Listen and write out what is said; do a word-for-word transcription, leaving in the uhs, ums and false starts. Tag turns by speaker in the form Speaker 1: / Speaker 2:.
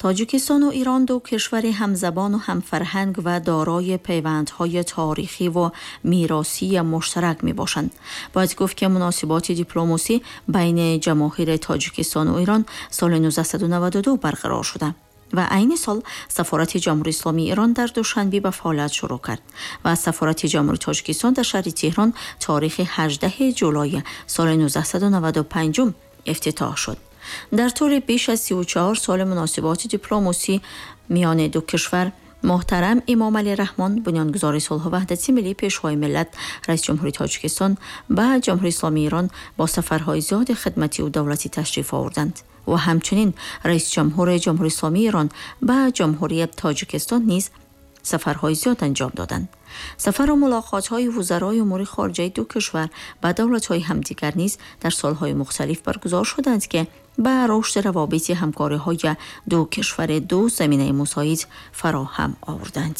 Speaker 1: Тоҷикистон ва Эрон ду кишвари ҳамзабон ва ҳамфарҳанг ва дорои пайвандҳои таърихӣ ва меросии муштарак мебошанд. Бояд гуфт, ки муносиботи дипломасӣ байни ҷамоҳири Тоҷикистон ва Эрон соли нуздаҳсаду наваду ду барқарор шуда ва айни сол сафорати Ҷумҳурии Исломии Эрон дар Душанбе ба фаъолият шурӯъ кард ва сафорати Ҷумҳурии Тоҷикистон дар шаҳри Теҳрон таърихи ҳаждаҳуми ҷулай соли нуздаҳсаду наваду панҷум ифтитоҳ шуд. Дар тӯли беш аз сию чаҳор соли муносиботи дипломасӣ миёни ду кишвар, муҳтарам Эмомалӣ Раҳмон, бунёдгузори сулҳу ваҳдати миллӣ, пешвои миллат, раиси Ҷумҳурии Тоҷикистон, ба Ҷумҳурии Исломии Эрон бо сафарҳои зиёди хидматӣ ва давлатӣ ташриф оварданд ва ҳамчунин раиси ҷумҳури Ҷумҳурии Исломии Эрон ба Ҷумҳурии Тоҷикистон низ сафарҳои зиёд анҷом доданд. Сафар ва мулоқотҳои вузарои умури хориҷаи ду кишвар ба давлатҳои ҳамдигар низ дар солҳои мухталиф баргузор шуданд, ки ба рушди равобити ҳамкориҳои ду кишвари ду заминаи мусоид фароҳам оварданд.